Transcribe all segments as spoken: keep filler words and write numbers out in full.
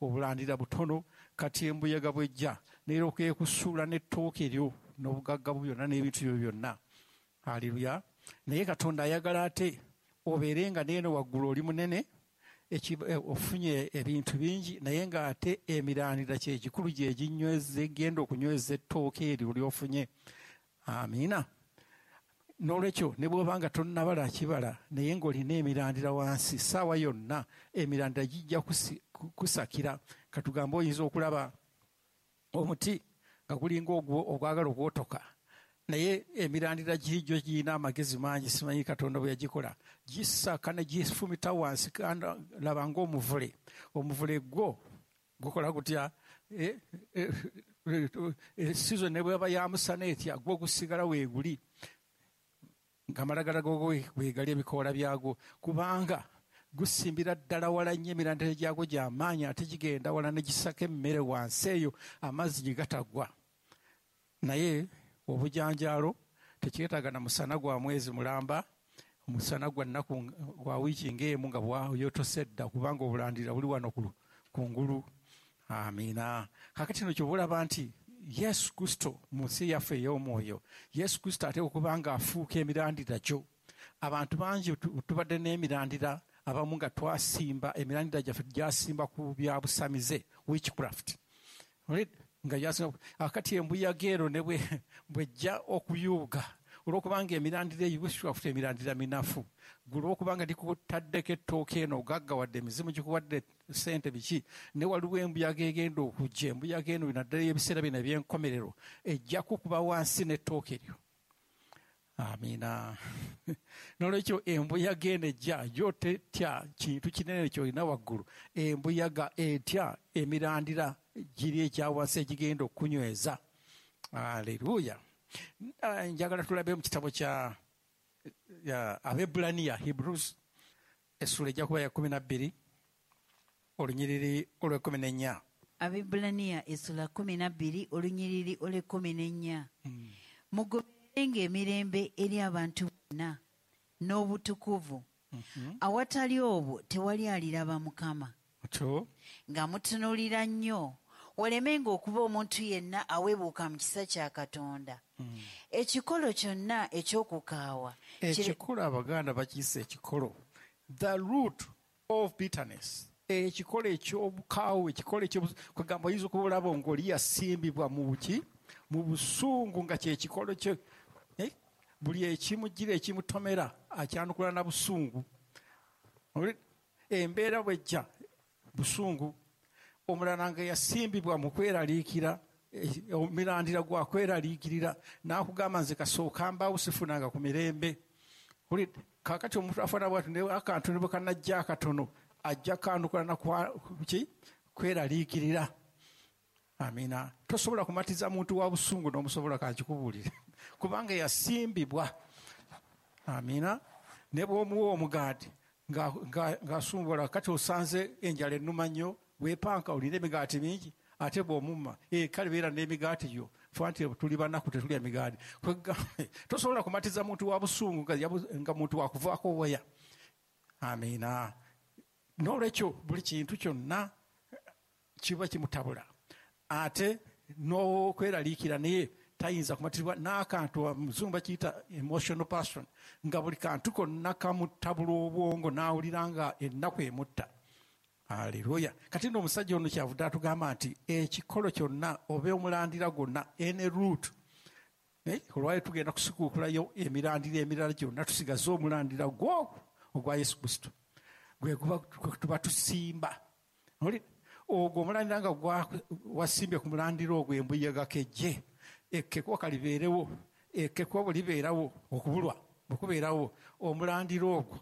Obulandira butono, kati embuyaga bwejja neeryoka ekusuula n'ettooke eryo n'obugagga bwo byonna n'ebintu byo byonna. Haleluya. Naye Katonda ayagala ate obeere nga neeno waggulu oli munene, ofunye ebintu bingi, naye ng'ate emirandira kye kikulu gye ginyweza, egenda okunyweza ettooke eryo ly'ofunye. Amiina. N'olwekyo ne bw'oba nga tonnabala kibala, naye ng'olina emirandira wansi, ssaawa yonna emirandira gijja kusakira. Katugambe oyinza okulaba omuti nga gulinga ogwagala okwotoka, naye emirandira giri girina amagezi mangi, simanyi Katonda bwe yagikola, gisaka ne gifumita wansi, laba ng'omuvule. Omuvule gwo gukola gutya? Season ne bw'eba ya musana etya, gwo gusigala weeguli, ng'amalagala gogo weegali ebikoola byagwo, kubanga gusimbira ddala wala nnyo, emirandira gyagwo gy'amaanyi, ate gigenda wala ne gisaka emmere wansi eyo, amazzi gye gatagwa. Naye obujanjaalo tekyetaaga na musana gwa mwezi mulamba, omusana gwa nnaku gwa wiiki ng'emu nga bwayotose dda, kubanga obulandira buli wano kungulu. Amiina. Kaakati kino ky'oba olaba nti Yesu Kristo mu nsi yaffe ey'omwoyo, Yesu Kristo ate okuba nga afuuka emirandira gyo. Abantu bangi tubadde n'emirandira, abamu nga twasimba emirandira gyaffe gyasimba ku bya busamize, witchcraft. Nga gyasimba akati embuyaga eno ne bwejja okuyuuga, olw'okubanga emirandira eyo witchcraft emirandira minafu, gwe olw'okubanga gikutaddeko ettooke eno ogaggawadde, emizimu gikuwadde ssente biki, ne waliwo embuyaga egenda okujja. Embuyaga eno naddala ebiseera bino eby'enkomerero ejja kukuba wansi n'ettooke eryo. Amiina. N'olwekyo embuyaga eno ejja yo tetya kintu kinene ky'olina waggulu, embuyaga etya emirandira giri ekya wansi egigenda okunyweza. Aleluya. Njagala tulabe mu kitabo kya Abebbulaniya, Hebrews, essula ejja kuba ya kkumi na bbiri olunyiriri olw'ekkumi n'ennya. Abebbulaniya essula kkumi na bbiri olunyiriri olw'ekkumi n'ennya. Mugobererenga emirembe eri abantu bonna n'obutukuvu, awatali obwo tewali aliraba Mukama. Nga mutunuulira nnyo, walemenga okuba omuntu yenna aweebuuka mu kisa kya Katonda. Ekikolo kyonna eky'okukaawa. Ekikolo Abaganda bakiyise ekikolo. The root of bitterness. Ekikolo eky'obukaawu, ekikolo eky'okugamba oyinza okuba olaba ng'oli yasimbibwa mu buki, mu busungu, nga kye kikolo kye. Buli ekimugira ekimutomera akyanukula na busungu. Embeera bw'ejja busungu. Omulala nga yasimbibwa mu kweraliikira, omirandira gwa kweraliikirira, n'akugamba nze kasooka mbaawo sifunanga ku mirembe. Kaakati omuntu afaanana bw'atyo, ne akantu ne bwe kanajja akatono ajja kanukula na ki kweraliikirira. Amiina. Tosobola kumatiza muntu wa busungu n'omusobola, kankikubuulire, kubanga yasimbibwa. Amiina. Ne bw'omuwa omugaati ng'asumbula, kati osanze enjala ennuma nnyo, weepanka olina emigaati mingi, ate bw'omumma kale beera n'emigaati gyo, fe nti tuli banaku tetulya migaati. Tosobola kumatiza muntu wa busungu nga muntu wakuvaako waya. Amiina. N'olwekyo buli kintu kyonna kiba kimutabula, ate n'okweraliikira naye tayinza kumatizibwa n'akantu. Muzungu bakiyita emotional person, nga buli kantu konna kamutabula obwongo n'awulira nga ennaku emutta. Haleluya. Kati nno omusajja ono kyavudde atugamba nti ekikolo kyonna oba omulandira gwonna, any root, olwayo tugenda kusikuukulayo emirandira emirala gyonna, tusigaze omulandira gwo ogwa Yesu Kristo gwe tuba tusimba. Ogwo omulandira nga wasimbye ku mulandira ogwo, embuyaga kejje, ekkekwa kalibeerewo, ekkekwa bwe libeerawo, okubulwa bwe kubeerawo, omulandira ogwo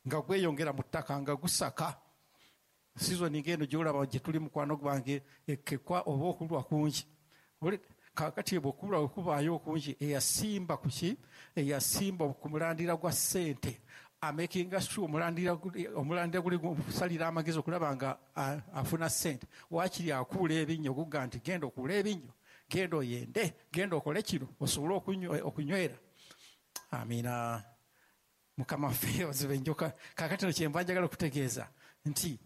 nga gweyongera mu ttaka nga gusaka. Sizoni ng'eno gy'olaba gye tuli mukwano gwange, ekkekwa oba okulwa kungi. Kaakati bwe okulwa bwe kubaayo okungi, eyasimba ku ki? Eyasimba ku mulandira gwa ssente, amakinga sure omulandira omulandira guli gusalira amagezi okulaba nga afuna ssente. Waakiri akuula ebinnyo, gugga nti genda okuula ebinnyo, genda oyende, genda okole kino osobole okunywera. Amiina. Mukama waffe ozibe enjoka. Kaakati no kyenva njagala okutegeeza nti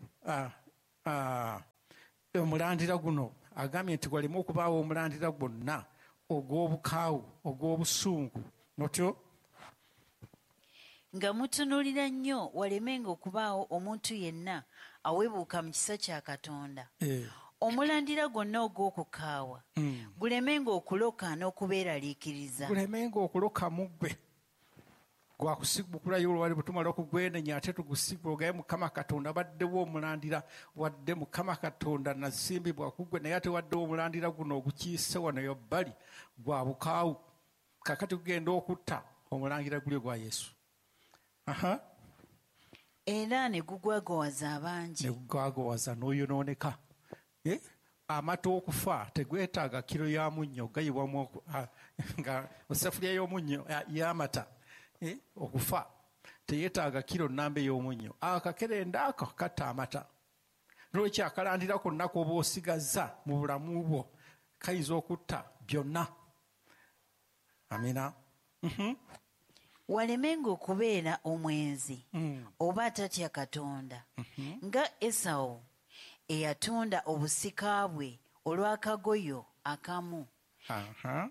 Omulandira guno agambye nti gwaleme okubaawo omulandira gwonna ogw'obukaawu, ogw'obusungu. Notyo nga mutunuulira nnyo walemenga okubaawo omuntu yenna aweebuuka mu kisa kya Katonda. Eh. Omulandira gwonna ogw'okukaawa Mm. gulemenga okuloka n'okubeeraliikiriza. Gulemenga okuloka mu ggwe. Gwakusigukulayo olwali bwe tumala okugwenenya ate tugusigula ogaye Mukama Katonda baddewo omulandira, wadde Mukama Katonda nasimbibwa ku ggwe, naye ate waddewo omulandira guno ogukiise wano eyo bbali gwa bukaawu. Kaakati gugenda okutta omulangira guli gwa Yesu. Aha. Era ne gugwagowaza abangi. Ne gugwagowaza n'oyonooneka. Eh? Amata okufa tegwetaaga kiro ya munnyo, gayibwamu oku-, ah, nga essefuliya y'omunnyo, ah, y'amata. Eh? Okufa teyeetaaga kiro nnamba ey'omunnyo. Akakerenda ako katta amata. N'olwekyo akalandira konna k'oba osigazza mu bulamu bwo kayinza okutta byonna. Amina. Mhm. Walemenga okubeera omwenzi Mm. oba atatya Katonda, Mhm. nga Esawu eyatunda obusika bwe olw'akagoyo akamu. Aha.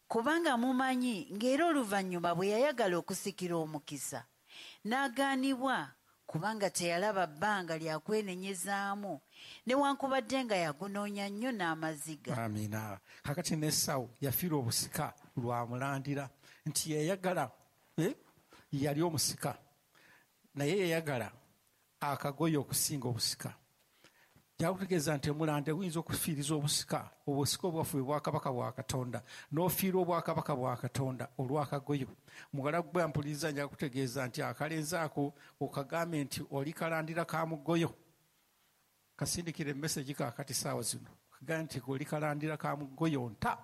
Kubanga mumanyi ng'era oluvannyuma bwe yayagala okusikira omukisa n'agaanibwa, kubanga teyalaba bbanga lya kwenenyezaamu, newankubadde nga yagunoonya nnyo n'amaziga. Amina. Kakati ne Esawu yafiirwa obusika lwa mulandira nti yayagala, eh, yali omusika, naye yayagala akagoye okusinga obusika. Kyakutegeeza nti omulande guyinza okufiiriza obusika, obusika obwaffe bwe bwakabaka bwa Katonda, n'ofiirwa obwakabaka bwa Katonda olw'akagoyo. Muwala gwe mpuliriza nja kutegeeza nti akalenzi ako okagambe nti oli kalandira ka mugoyo. Kasindikire emesegi kaakati ssaawa zino. Kagambe nti oli kalandira ka mugoyo nta.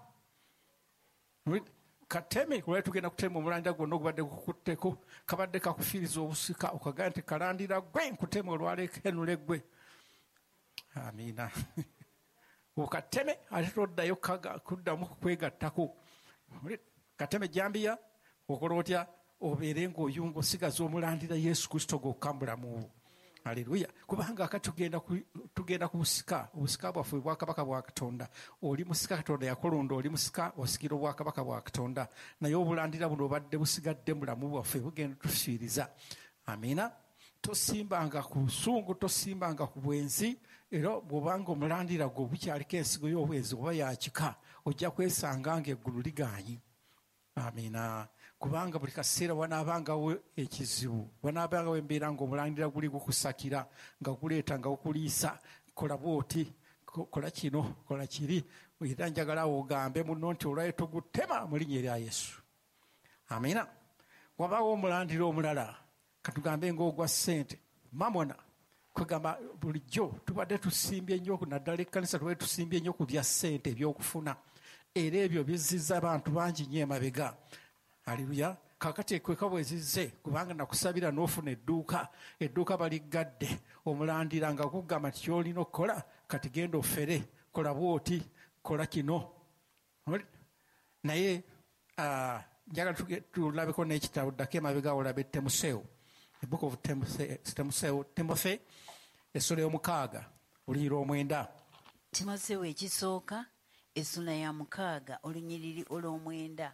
Kateme, kulwa tugenda kutema omulandira gwonna ogubadde gukutteko, kabadde kakufiiriza obusika, okagambe nti kalandira gwe nkutema olwalekenule gwe. Amina. Okateme ate toddayo kaga-, kuddamu kwegattako. Kateme jambiya, okola otya? Obeere ng'oyunga osigaza omulandira Yesu Kristo gwokka mu bulamu bwo. Haleluya. Kubanga akati tugenda ku, tugenda ku busika, obusika bwaffe bwakabaka bwa Katonda. Oli musika Katonda yakulonda, oli musika osikira obwakabaka bwa Katonda. Naye obulandira buno obadde busigadde mu bulamu bwaffe bugenda tufiiriza. Amina. Tosimbanga ku busungu, tosimbanga ku bwenzi, era bw'obanga omulandira gwo bukyaliko ensigo y'obwenzi oba ya kika, ojja kwesanga ng'eggulu ligaanyi. Amina. Kubanga buli kaseera wanaabangawo ekizibu, wanaabangawo embeera ng'omulandira guli gukusakira, nga guleeta nga gukuliisa, kola bw'oti, ko-, kola kino, kola kiri. Era njagala ogambe munno nti olwayo tugutema mu linnya erya Yesu. Amina. Wabaawo omulandira omulala, katugambe ng'ogwa ssente, mamona. Kwegamba bulijjo tubadde tusimbye nnyo, naddala ekkanisa tubadde tusimbye nnyo ku bya ssente eby'okufuna. Era ebyo bizizza abantu bangi nnyo emabega. Haleluya. Kaakati ekweka bwe zizze, kubanga nakusabira n'ofuna edduuka, edduuka baliggadde, omulandira nga gugamba nti ky'olina okukola, kati genda ofere, kola bw'oti, kola kino. Naye, ah, njagala tuge-, tulabeko n'ekitabo, ddako emabega olabe Timoseewo. The book of Timothy, Timoseewo, Timothy, essula y'omukaaga, olunyiriri omwenda. Timoseewo ekisooka, essula ya mukaaga, olunyiriri olw'omwenda.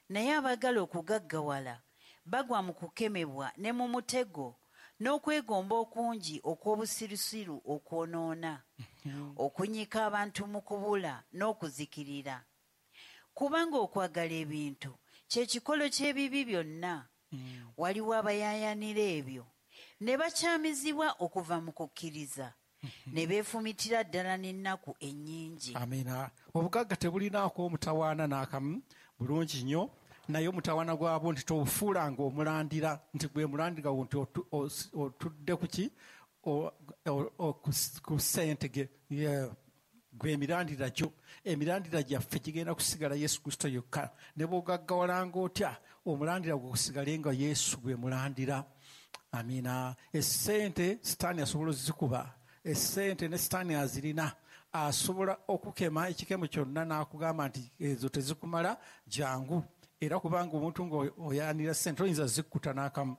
Naye abaagala okugaggawala bagwa mu kukemebwa ne mu mutego n'okwegomba okungi okw'obusirusiru okwonoona, Mm-hmm. okunyika abantu mu kubula n'okuzikirira. Kubanga okwagala ebintu kye kikolo ky'ebibi byonna. Mm. Waliwo abayaayaanira ebyo ne bakyamizibwa okuva mu kukkiriza, Mm-hmm. ne beefumitira ddala n'ennaku ennyingi. Amiina. Obugagga tebulinaako omutawaana n'akamu, bulungi nnyo, naye omutawaana gwabwo nti tobufuulanga omulandira, nti gwe mulandira wo nti otu-, os-, otudde ku ki? O-, o-, o-, ku s-, ku ssente ge, ye, gwe emirandira gyo. Emirandira gyaffe gigenda kusigala Yesu Kristo yokka. Ne bw'ogaggawalanga otya, omulandira gwo gusigale nga Yesu gwe mulandira. Amiina. Essente Sitaani asobola ozikuba. Essente ne Sitaani azirina. Asobola okukema ekikemo kyonna n'akugamba nti ezo tezikumala, jangu. Era kubanga omuntu ng'oyaanira ssente oyinza zikkuta n'akamu.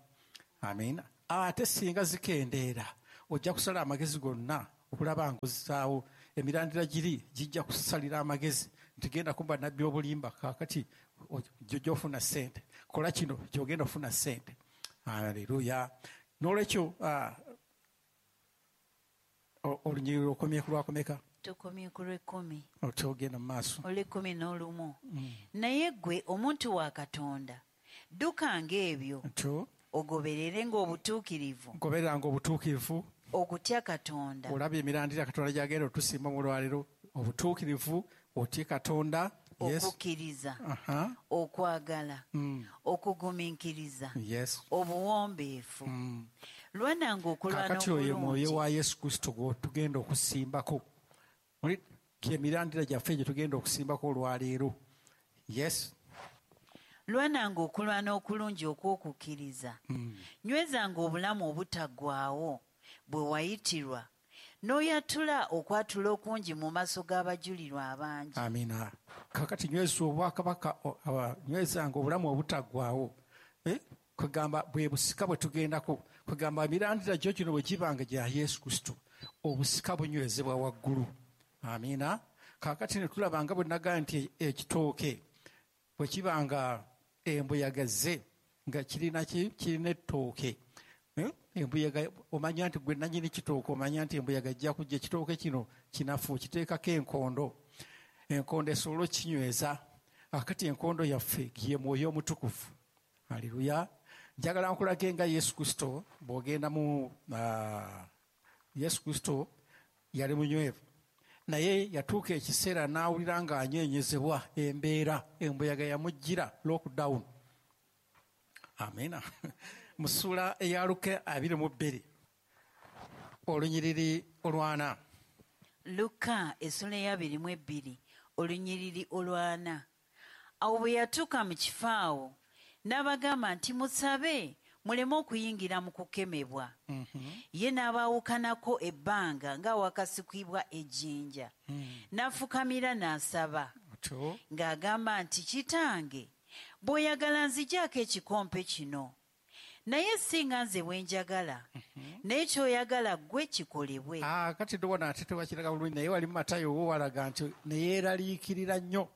Amiina. Ate singa zikendeera, ojja kusala amagezi gonna Okulaba ng'ozzaawo emirandira giri gijja kusalira amagezi nti genda kumba nabbi obulimba, kaakati gy'ofuna ssente, kola kino gy'ogenda ofuna ssente. Haleluya. N'olwekyo olunyiriri okomye ku lwakomeka? Tukomye ku lw'ekkumi. Otogenda mu maaso. Olw'ekkumi n'olumu. Naye ggwe omuntu wa Katonda, ddukanga ebyo, ogobererenga obutuukirivu. Gobereranga obutuukirivu. Okutya Katonda. Olaba emirandira Katonda gy'agenda otusimba mu lwaleero, obutuukirivu, otye Katonda. Yes. Okukkiriza, uh-huh. okwagala, mm. okugumiikiriza, yes. obuwombeefu. Mm. Lwananga okulwana Kaakati oyo mwoyo okulungi. wa Yesu Kristo gw'otugenda okusimbako. Muli emirandira gyaffe gye tugenda okusimbako olwaleero. Yes. Lwananga okulwana okulungi okw'okukkiriza. Mm. Nywezanga obulamu obutaggwaawo bwe wayitirwa, n'oyatula okwatula okungi mu maaso g'abajulirwa abangi. Amina. Kaakati nyweza obwakabaka, nywezanga obulamu obutaggwaawo. Eh? Kugamba bwe busika bwe tugendako, kugamba emirandira gyo gino bwe gibanga gya Yesu Kristo, obusika bunywezebwa waggulu. Amina. Kaakati ne tulaba nga bwe nagamba nti ekitooke bwe kibanga embuyaga ze nga kirina ki? Kirina ettooke. Eh? Embuyaga omanya nti gwe nannyini kitooke, omanya nti embuyaga ejja kujja, ekitooke kino kinafu, kiteekako enkondo. Enkondo esobola okinyweza. Akati enkondo yaffe ye mwoyo omutukuvu. Haleluya. Njagala nkulage nga Yesu Kristo bw'ogenda mu uh, Yesu Kristo yali munywevu, naye yatuuka ekiseera n'awulira ng'anyeenyezebwa embeera, embuyaga yamujjira, lockdown. Amina. Mu ssuula eya Luka abiri mu bbiri olunyiriri olwana. Luka essula ey'abiri mu ebbiri olunyiriri olwana. Awo bwe yatuuka mu kifo awo n'abagamba nti musabe muleme okuyingira mu kukemebwa. Mm-hmm. Ye n'abaawukanako ebbanga ng'awakasikibwa ejjinja. Mm. N'afukamira n'asaba Otyo. ng'agamba nti kitange, bw'oyagala nzigyako ekikompe kino, naye singa nze bwe njagala, naye ky'oyagala ggwe kikolebwe. Ah, kati ndowooza ate tewakiraga bulungi, naye wali mu Matayo wo walaga nti ne yeeraliikirira nnyo.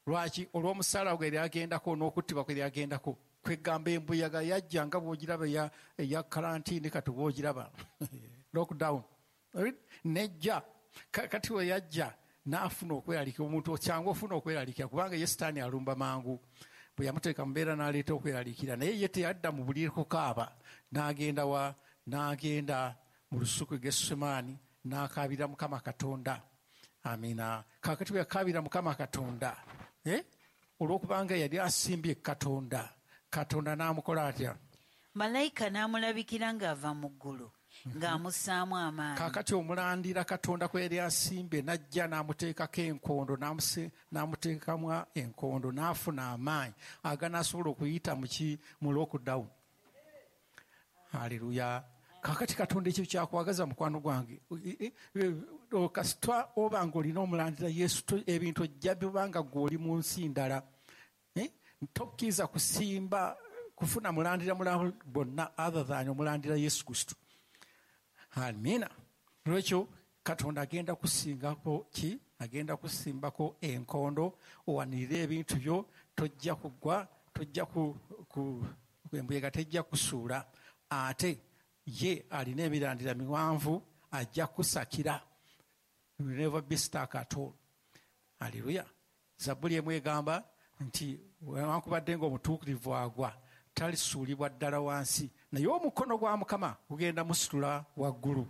Lwaki? Olw'omusaala gwe yali agendako n'okuttibwa kwe yali agendako. Kwegamba embuyaga yajja nga bw'ogiraba eya, eya karantiini kati bw'ogiraba lockdown nejja. Kati we yajja n'afuna okweraliikira, omuntu kyangu ofuna okweraliikira kubanga ye Sitaani alumba mangu. Bwe yamuteeka mu mbeera n'aleeta okweraliikira, naye ye teyadda mu buliri kukaaba, n'agenda wa n'agenda mu lusuku e Gethsemane n'akaabira Mukama Katonda. Amina. Kaakati bwe yakaabira Mukama Katonda, eh? Olw'okubanga yali asimbye Katonda, Katonda n'amukola atya? Malayika n'amulabikira ng'ava mu ggulu, ng'amussaamu amaanyi. Kaakati omulandira Katonda kwe yali asimbye n'ajja n'amuteekako enkondo, n'amuteekamu enkondo, n'afuna amaanyi aganaasobola okuyita mu ki? Mu lockdown. Haleluya. Kaakati Katonda ekyo kyakwagaza mukwano gwange. Kasita oba ng'olina omulandira Yesu, ebintu ojja bibanga ggwe oli mu nsi ndala. Tokkiriza kusimba kufuna mulandira mulala bonna other than omulandira Yesu Kristo. Amina. Lwekyo Katonda agenda kusingako ki? Agenda kusimbako enkondo, owanirire ebintu byo, tojja kugwa, tojja ku, ku embuyaga tejja kusuula. Ate ye alina emirandira miwanvu, ajja kusakira. You will never be stuck at all. Hallelujah. Zabbuli emu egamba nti newankubadde ng'omutuukirivu agwa, talisuulibwa ddala wansi, naye omukono gwa Mukama gugenda musitula waggulu.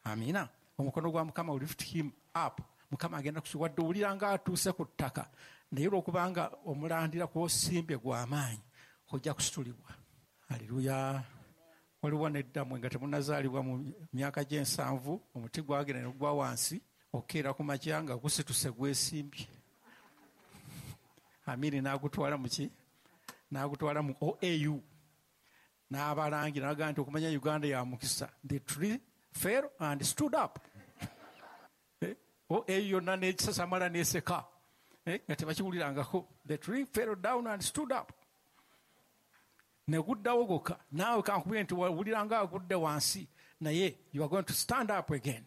Amina. Omukono gwa Mukama will lift him up. Mukama agenda kusitula, wadde owulira ng'atuuse ku ttaka, naye olw'okubanga omulandira kw'osimbye gw'amaanyi, ojja kusitulibwa. Haleluya. Waliwo neddammwe nga temunnazaalibwa mu myaka gy'ensanvu, omuti gwagenda ne gugwa wansi, okeera ku makya nga gusituse gwesimbye. Amiri n'agutwala mu ki? N'agutwala mu O A U. N'abalangira n'agamba nti okumanya Uganda ya mukisa. The tree fell and stood up. O A U yonna n'ekisasamala n'eseka. Nga tebakiwulirangako. The tree fell down and stood up. Ne guddawo gwokka. Naawe kankubire nti wawulira nga agudde wansi, naye you are going to stand up again.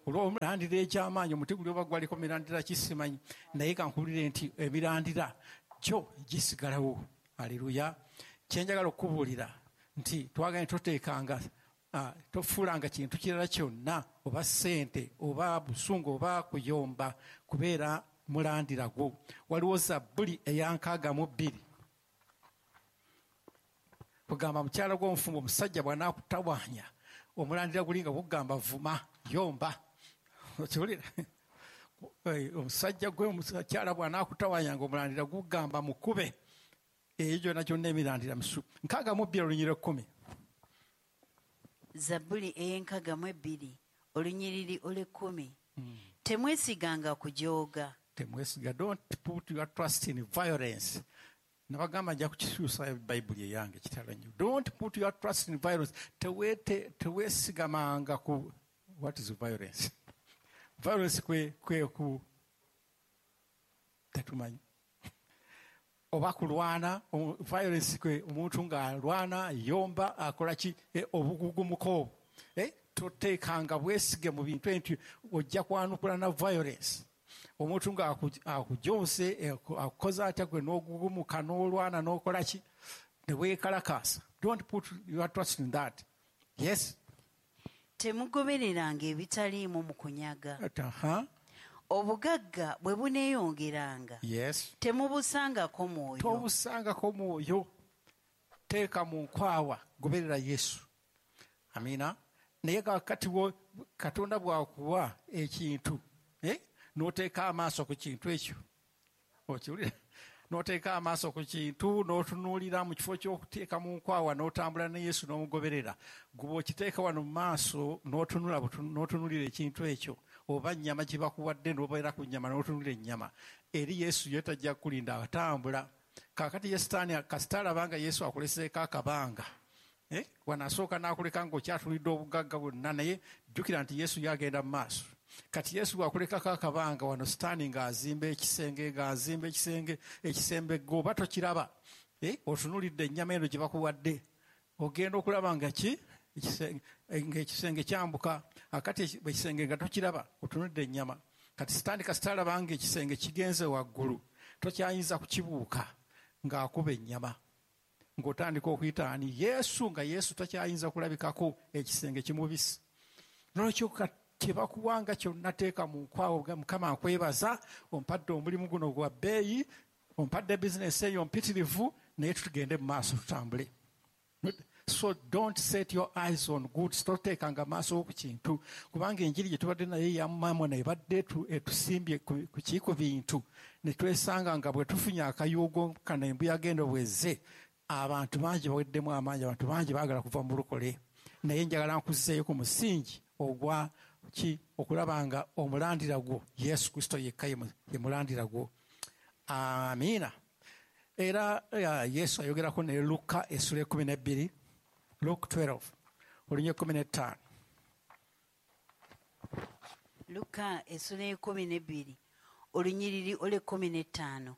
Olw'omulandira ekyamaanyi, omuti guli oba gwaliko mirandira kisimanyi, naye kankubuulire nti emirandira gyo gisigalawo. Aleluya. Kyenjagala okukubuulira nti twagala toteekanga, tofuulanga kintu kirala kyonna, oba ssente oba busungu oba kuyomba, kubeera mulandira gwo. Waliwo Zabbuli eya nkaaga mu bbiri kugamba mukyala gw'omufumbo, omusajja bw'anaakutawaanya, omulandira guli nga gugamba vuma, yomba. Okiwulira? Omusajja gwe omukyala bw'anaakutawaanya nga omulandira gugamba mukube. Eyo gyonna gyonna emirandira misu. Nkaaga mu bbiri olunyiriri ekkumi. Zabbuli ey'enkaga mu ebbiri olunyiriri olw'ekkumi. Temwesiganga kujooga. Temwesiga. Don't put your trust in violence. Nabagamba nja kukikyusa Bayibuli eyange, kitalo nnyo. Don't put your trust in violence. Tewete teweesigamanga ku, what is violence? Violence kwe kwe ku tetumanyi oba kulwana. Violence kwe omuntu ng'alwana, yomba, akola ki, eh, obugugumuko. eh, toteekanga bwesige mu bintu nti ojja kwanukula na violence. Omuntu ng'akujonse, eh, akukoze atya, gwe n'ogugumuka n'olwana n'okola ki ne weekalakaasa. Don't put your trust in that. Yes. Temugobereranga ebitaliimu mu kunyaga. Aha. Obugagga bwe buneeyongeranga, yes temubusangako mwoyo. Tobusangako mwoyo. Teeka mu nkwawa, goberera Yesu. Amiina. Naye kakati Katonda bw'akuwa ekintu, eh? n'oteeka amaaso ku kintu ekyo, okiwulira? N'oteeka amaaso ku kintu n'otunuulira mu kifo ky'okuteeka mu nkwawa n'otambula ne Yesu n'omugoberera. Guba okiteeka wano mu maaso n'otunula, n'otunuulira ekintu ekyo, oba nnyama gye bakuwadde n'obeera ku nnyama n'otunuulira ennyama. Eri Yesu ye tajja kukulinda, atambula. Kaakati ye Sitaani kasita alaba nga Yesu akuleseeko akabanga, eh? wano asooka n'akuleka ng'okyatulidde obugagga bwonna, naye jjukira nti Yesu yagenda mu maaso. Kati Yesu bw'akulekako akabanga wano, Sitaani ng'azimba ekisenge, ng'azimba ekisenge, ekisembe gwe oba tokiraba, eh? otunuulidde ennyama eno gye bakuwadde, ogenda okulaba nga ki ng'ekisenge kyambuka. Akati ekisenge nga tokiraba, otunuulidde ennyama. Kati Sitaani kasita alaba ng'ekisenge kigenze waggulu, tokyayinza kukibuuka, ng'akuba ennyama, ng'otandika okuyita ani? Yesu, nga Yesu takyayinza kulabikako, ekisenge kimubisi. Nolwekyo kye bakuwanga kyonna teeka mu nkwawo. Mukama nkwebaza, ompadde omulimu guno gwa bbeeyi, ompadde bizinesi eyo mpitirivu, naye tutugende mu maaso tutambule. So don't set your eyes on goods. Toteekanga maaso ku kintu, kubanga enjiri gye tubadde naye ya mamona ebadde etusimbye ku ki? Ku bintu, ne twesanga nga bwe tufunye akayuugo kano, embuyaga eno bwezze, abantu bangi baweddemu amaanyi, abantu bangi baagala kuva mu bulokole. Naye njagala nkuzzeeyo ku musingi ogwa ki? Okulaba nga omulandira gwo Yesu Kristo yekka ye mulandira gwo. Amiina. Era Yesu ayogerako ne Luka essula ekkumi n'ebbiri, Luke twelve olunya ekkumi n'ettaano. Luka essula ekumi n'ebbiri olunyiriri olw'ekkumi n'ettaano.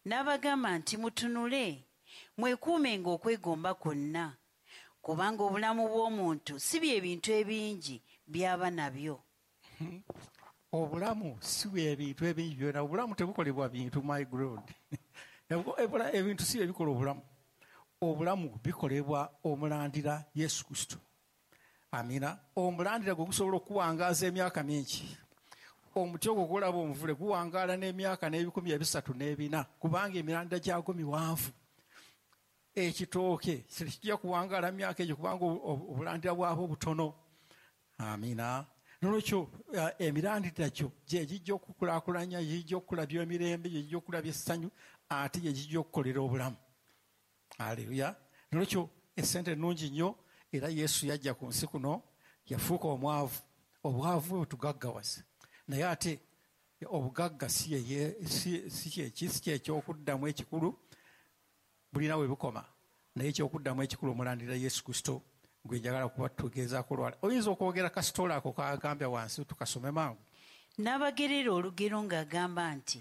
N'abagamba nti, mutunule, mwekuumenga okwegomba kwonna, kubanga obulamu bw'omuntu si bye bintu ebingi by'aba nabyo. Obulamu si bwe bintu ebingi byona. Obulamu tebukolebwa bintu, my God. Ebintu si ebikola obulamu. Obulamu bikolebwa omulandira Yesu Kristo. Amina. Omulandira gwe gusobola okuwangaaza emyaka mingi. Omuti ogwo gwolaba omuvule guwangaala n'emyaka n'ebikumi ebisatu n'ebina, kubanga emirandira gyagwo miwanvu. Ekitooke tekijja kuwangaala myaka egyo, kubanga obulandira bwabwo butono. Amina. Nolwekyo emirandira gyo gye gijja okukulaakulanya, gijja okukulabya emirembe, gye gijja okukulabya essanyu, ate gye gijja okukolera obulamu. Aleluya. Nolwekyo esente nnungi nnyo, era Yesu yajja ku nsi kuno yafuuka omwavu, obwavu bwe butugaggawaza. Naye ate obugagga si kyeki, si kyekyokuddamu ekikulu, bulina we bukoma. Naye ekyokuddamu ekikulu omulandira Yesu Kristo gwe njagala kuba tugezaako olwala. Oyinza okwogera kasitoola ako kagambya wansi, tukasome mangu. N'abagerera olugero ng'agamba nti,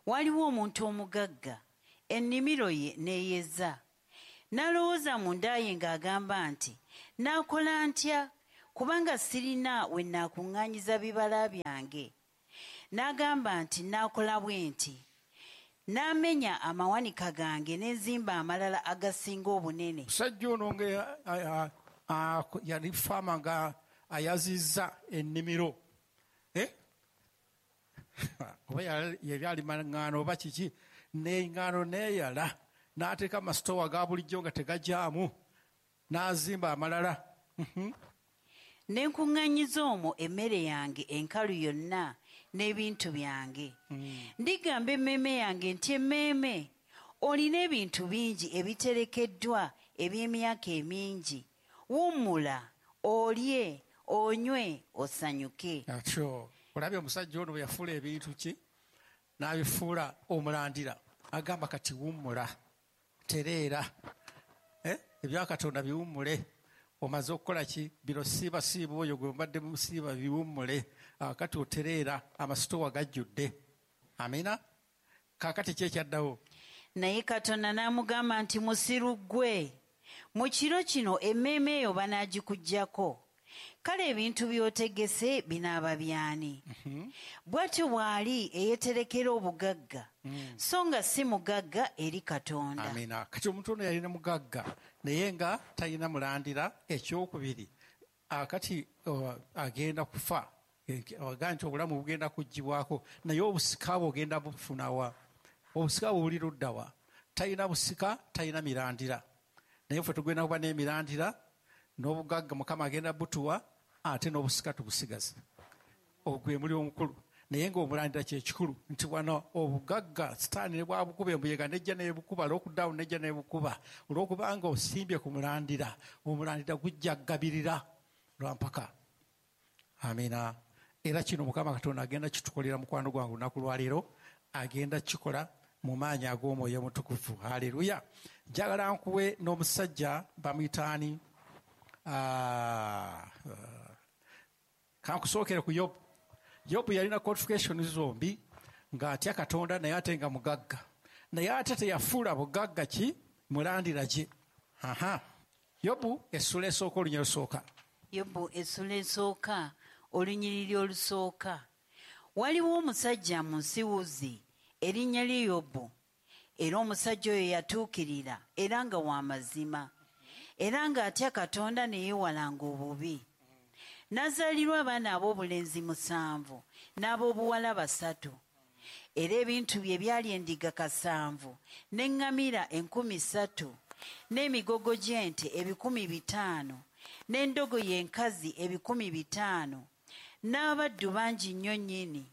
waliwo omuntu omugagga, ennimiro ye n'eyeza. N'alowooza mu nda ye ng'agamba nti, naakola ntya, Kubanga sirina we naakuŋŋaanyiza bibala byange. N'agamba nti naakola bwe nti, n'amenya amawanika gange ne nzimba amalala agasinga obunene. Musajja ono nga yali faama nga ayazizza ennimiro. Eh? Oba yali alima ŋŋaano oba kiki, n'eŋŋaano n'eyala, n'ateeka amasitoowa ga bulijjo nga tegajaamu, n'azimba amalala. Ne nkuŋŋaanyiza omwo emmere yange enkalu yonna n'ebintu byange. Ndigamba emmeeme yange nti emmeeme, olina ebintu bingi ebiterekeddwa eby'emyaka emingi. Wummula, olye, onywe, osanyuke. Atyo, olabye omusajja ono bwe yafuula ebintu ki? N'abifuula omulandira. Agamba kati wummula, tereera. Eh? Ebya Katonda biwummule. Omaze okukola ki? Bino siiba siiba oyo gwe mbadde musiiba biwummule. Kati otereera, amasitoowa gajjudde. Amina? Kaakati ki ekyaddawo? Naye Katonda n'amugamba nti musiru ggwe, mu kiro kino emmeeme eyo banaagikuggyako. Kale ebintu by'otegese binaaba byani? Bw'atyo bw'ali eyeeterekera obugagga, so nga si mugagga eri Katonda. Amina. Kati omuntu ono yalina mugagga naye nga talina mulandira. Ekyokubiri, akati agenda kufa, agamba nti obulamu bugenda kuggyibwako, naye obusika bwe ogenda bufunawa? Obusika bwe buli ludda wa? Talina busika, talina mirandira. Naye ffe tugenda kuba n'emirandira n'obugagga Mukama agenda butuwa, ate n'obusika tubusigaze. Ogwe muli omukulu. Naye ng'omulandira kye kikulu nti wano obugagga Sitaani ne bwabukuba embuyega nejja n'ebukuba, lockdown nejja n'ebukuba, olw'okubanga osimbye ku mulandira, omulandira gujja kugabirira lwa mpaka. Amina. Era kino Mukama Katonda agenda kitukolera mukwano gwange olunaku lwaleero, agenda kikola mu maanyi ag'Omwoyo Omutukuvu. Haleluya. Njagala nkuwe n'omusajja bamuyita ani? Kankusookere ku Yobu. Yobu yalina qualification zombi, ng'atya Katonda naye ate nga mugagga. Naye ate teyafuula bugagga ki? Mulandira gye. Aha. Yobu essula esooka olunyiriri olusooka. Yobu essula esooka olunyiriri olusooka. Waliwo omusajja mu nsi Uzi, erinnya lye Yobu. Era omusajja oyo yatuukirira era nga wa mazima, era ng'atya Katonda ne yeewalanga obubi. N'azaalirwa abaana ab'obulenzi musanvu n'ab'obuwala basatu. Era ebintu bye byali endiga kasanvu, n'eŋŋamira enkumi ssatu, n'emigogo gy'ente ebikumi bitaano, n'endogoyi enkazi ebikumi bitaano, n'abaddu bangi nnyo nnyini.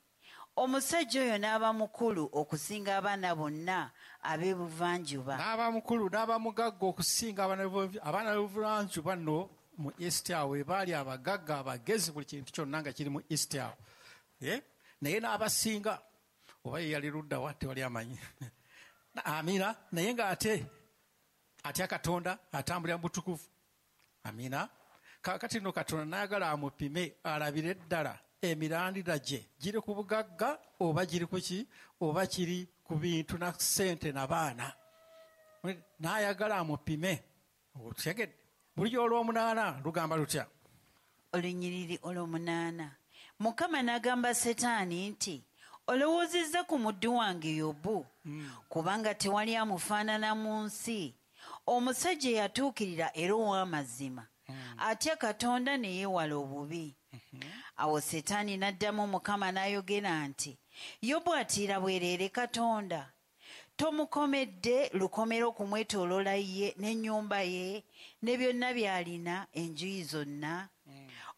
Omusajja oyo n'aba mukulu okusinga abaana bonna ab'ebuvanjuba. N'aba mukulu, n'aba mugagga okusinga abaana b'ebuvanjuba nno mu East awo baali abagagga abagezi, buli kintu kyonna nga kiri mu East awo. Naye n'abasinga, oba ye yali ludda wa tewali amanyi. Amina. Naye ng'ate atya Katonda, atambulira mu butukuvu. Amina. Kaakati nno Katonda n'ayagala amupime alabire ddala emirandira gye giri ku bugagga oba giri ku ki, oba kiri ku bintu na ssente na baana. N'ayagala amupime. Otegedde? Bulijjo olw'omunaana lugamba lutya? Olunyiriri olw'omunaana. Mukama n'agamba Setaani nti, olowoozezza ku muddu wange Yobu, kubanga tewali amufaanana mu nsi, omusajja eyatuukirira era ow'amazima, atya Katonda ne yeewala obubi. Awo Setaani n'addamu Mukama n'ayogera nti, Yobu atiira bwereere Katonda. Tomukomedde lukomera okumwetooloola ye n'ennyumba ye ne byonna by'alina enjuyi zonna.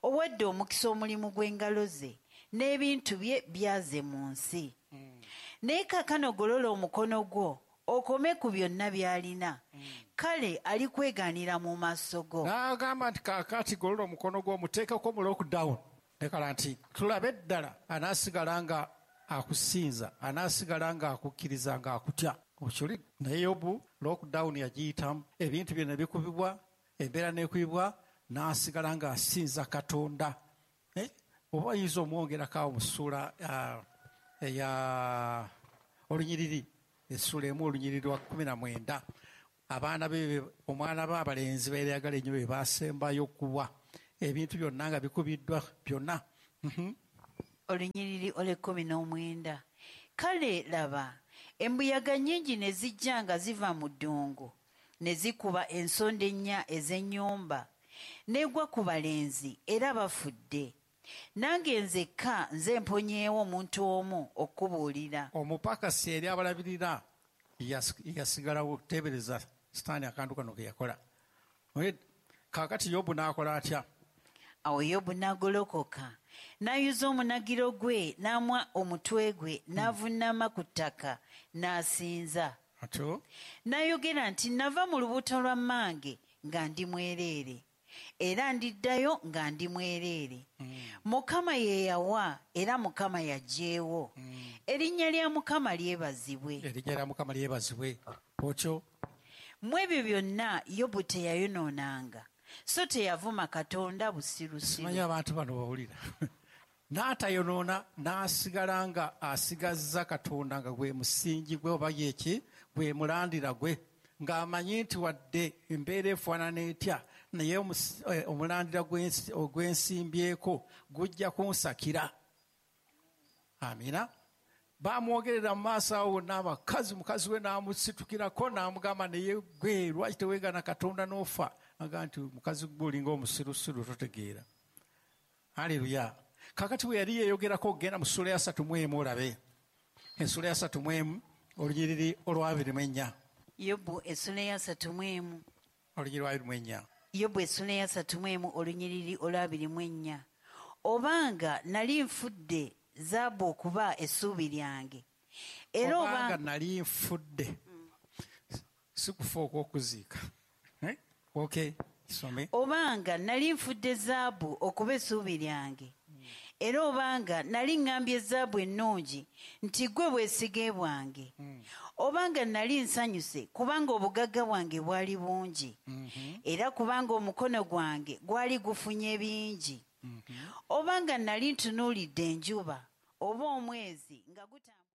Owadde omukisa omulimu gw'engalo ze n'ebintu bye byaze mu nsi. Naye kaakano golola omukono gwo okome ku byonna by'alina, kale alikwegaanira mu maaso go. N'agamba nti kaakati golola omukono gwo omuteekeko mu lockdown. Nekala nti tulabe ddala anaasigala nga akusinza, anaasigala nga akukkiriza nga akutya. Okuli naye Yobu lockdown yagiyitamu, ebintu bye ne bikubibwa, embeera n'ekubibwa, n'asigala ng'asinza Katonda. Oba oyinza omwongerako awo mu ssuula eya olunyiriri, essula emu olunyiriri lwa kkumi na mwenda. Abaana be, omwana be abalenzi beerayagala ennyo be baasembayo okuwa. Ebintu byonna nga bikubiddwa byonna. Olunyiriri olw'ekkumi n'omwenda. Kale laba, embuyaga nnyingi ne zijja nga ziva mu ddungu, ne zikuba ensonda ennya ez'ennyumba, n'egwa ku balenzi era bafudde. Nange nzekka nze mponyeewo omuntu omu okubuulira. Omupakasi eri abalabirira yasigalawo. Teebereza Sitaani akantu kano ke yakola. Kaakati Yobu n'akola atya? Awo Yobu n'agolokoka, n'ayuza omunagiro gwe, n'amwa omutwe gwe, n'avunnama ku ttaka, n'asinza. Atyo? N'ayogera nti nava mu lubuto lwa mmange nga ndi mwereere, era ndiddayo nga ndi mwereere. Mukama ye yawa era Mukama yaggyeewo. Erinnya lya Mukama lyebazibwe. Erinnya lya Mukama lyebazibwe. Otyo? Mu ebyo byonna Yobu teyayonoonanga, so teyavuma Katonda busirusiru. Simanyi abantu bano bawulira. N'atayonoona n'asigala nga asigazza Katonda nga gwe musingi gwe oba yeki gwe mulandira gwe, ng'amanyi nti wadde embeera efaanana etya, naye omulandira ogw'ensimbyeko gujja kunsakira. Amina. Bamwogerera mu maaso awo wonna abakazi, mukazi we n'amusitukirako n'amugamba naye gwe lwaki teweegana Katonda n'ofa? Agamba nti mukazi gwe olinga omusirusiru totegeera. Haleluya. Kaakati bwe yali yeeyogerako ogenda mu ssuula ya asatu mu emu olabe. Essuula ya asatu mu emu olunyiriri olw'abiri mu ennya. Yobu essuula ya asatu mu emu. Olunyiriri lw'abiri mu ennya. Yobu essuula ya asatu mu emu olunyiriri olw'abiri mu ennya. Obanga nali nfudde zaabu okuba essuubi lyange. Era obanga nali nfudde. Si kufa okw'okuziika. Okay, some. Obanga nali nfudde zaabu okuba essuubi lyange. Era obanga nali ŋŋambye zaabu ennungi nti ggwe bwesige bwange. Obanga nali nsanyuse kubanga obugagga bwange bwali bungi. Era kubanga omukono gwange gwali gufunye bingi. Obanga nali ntunuulidde enjuba oba omwezi nga gutambula.